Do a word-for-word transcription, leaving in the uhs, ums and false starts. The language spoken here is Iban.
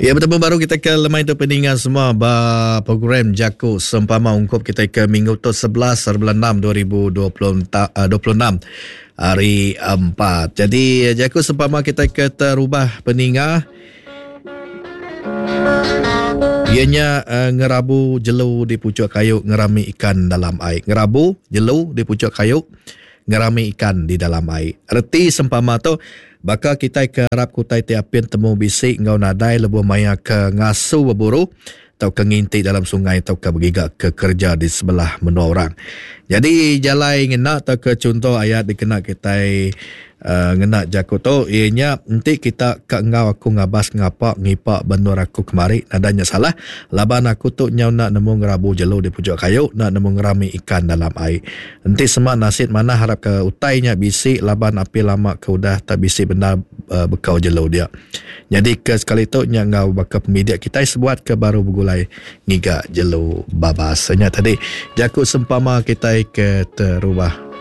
Ya, betemu baru kita ke lemai tu peninga semua ba program Jaku Sempama ungkup kita ke minggu tu sebelas bulan enam dua ribu dua puluh enam hari empat. Jadi Jaku Sempama kita ke terubah peninga ianya uh, ngerabu jelu di pucuk kayu ngerami ikan dalam air. Ngerabu jelu di pucuk kayu ngerami ikan di dalam air. Reti sempama tu baka kita ke arap kutai ti apin temu bisi enggau nadai lebuh maya ke ngasu berburu atau ke nginti dalam sungai atau ke bergiga ke kerja di sebelah menua orang. Jadi jalai ngena atau ke contoh ayat dikena kita uh, ngena jaku tu ianya enti kita ke enggau aku ngabas ngapa ngipa benur aku kemari nadanya salah laban aku tu nyau nak nemu ngerabu jelu di pucuk kayu nak nemu ngerami ikan dalam air. Enti semak nasid mana harap ke utainya bisi laban api lama ke udah tak bisi benar uh, bekau jelu dia. Jadi ke sekali tu nya enggau baka pemidik kita sebuat ke baru begulai ngiga jelu babas. Nya tadi jaku sempama kita ke terubah.